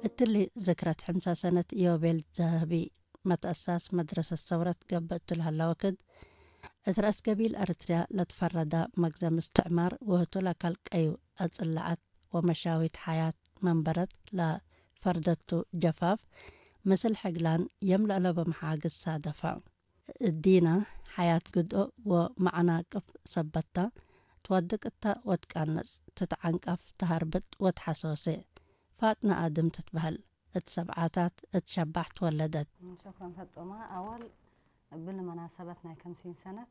እትሊ ዝክረት ሕምሳ ሰነት ኢዮቤል ዘህቢ መትኣሳስ መድረሰት ሰውረት ገብእ እትልሃላ ወክድ፣ እት ረእስ ገቢል ኤርትርያ ለትፈረዳ መግዘም እስትዕማር ወህቱ ለካል ቀዩ ኣጽላዓት ወመሻዊት ሓያት መንበረት ለፈርደቱ ጀፋፍ፣ ምስል ሕግላን የም ለእለቦ መሓግዝ ሳደፋ። እዲና ሓያት ግድኦ ወመዓናቅፍ ሰበታ፣ ትወድቅ እታ ወትቃነጽ፣ ትትዓንቃፍ፣ ተሃርብጥ ወትሓሰወሴ። ፋጥና ኣድም ትትበህል፣ እት ሰብዓታት እት ሸባሕ ትወለደት። ሸክረን ፈጦማ ኣወል እብል መናሰበት ናይ ከምሲን ሰነት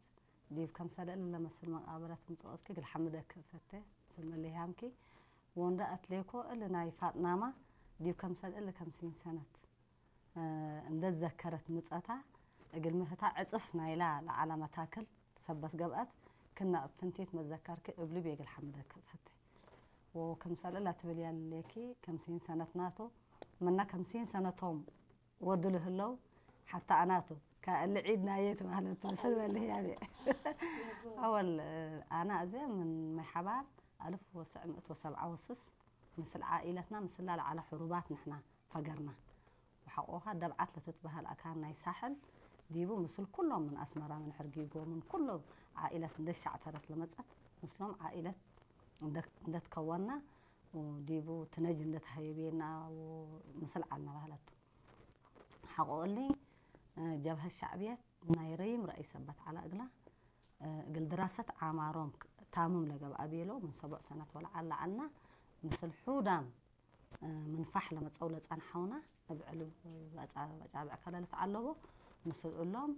ዲብ ከምሰለ እሊ ለመስል መቃብረት ምጽኦትኪ እግል ሓምደክ እፈቴ፣ ምስል መለያምኪ ወንዳ ኣትሌኮ እሊ ናይ ፋጥናማ ዲብ ከምሰል እሊ ከምሲን ሰነት እንደ ዘከረት ምጸታ እግል ምህታ ዕጽፍ ናይላ ለዓላ መታክል ሰበት ገብአት ክና እብ ፍንቲት መዘከርኪ እብሊ ቤግል ሓምደክ እፈቴ። ወከምሰል እላ ትብል ያሌኪ ከምሲን ሰነት ናቶ፣ ምና ከምሲን ሰነቶም ወድል ህለው ሓታ ኣናቱ ከእሊ ዒድ ናየት ማለት ምስል በልህ ያቤ። ኣወል ኣና እዜ ምን ማይ ሓባር ኣልፍ ወስዕ ምእት ወሰብዓ ወስስ ምስል ዓኢለትና ምስላ ለዓላ ሕሩባት ንሕና ፈገርና። ወሓቆኻ ደብዓት ለትትበሃል ኣካን ናይ ሳሕል ዲቡ ምስል ኩሎም ምን ኣስመራ ምን ሕርጊጎ ምን ኩሎ ዓኢለት እንደ ሻዕተረት ለመጸት ምስሎም ዓኢለት እንደ-፣ እንደትከወና ዲቡ ትነጅ እንደትሃየቤና ምስል ዓልና ባህለቱ። ሓቆ እሊ ጀብሀ ሻዕብየት ናይ ረይም ረእይ ሰበት ዓላ እግላ እግል ድራሰት ዓማሮም ታምም ለገብኣ ቤሎ ምን ሰቡዕ ሰነት ወለዓላ ዓልና ምስል ሑዳም ምን ፋሕ ለመጸው ለጸንሐውና እብ ዕልብ ኣጻብዕ ከለለት ዓለቦ ምስል እሎም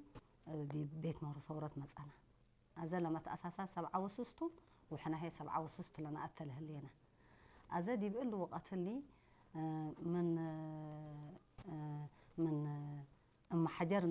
ዲብ ቤት መሩ ሰውረት መጸና። ኣዘ ለመትኣሳሳ ሰብዓ ወስስቱ ወሕናሄ ሰብዓ ወስስቱ ለነኣተ ለህሌና። ኣዘ ዲብ እሊ ወቀትሊ ምን ምን እመሓጀር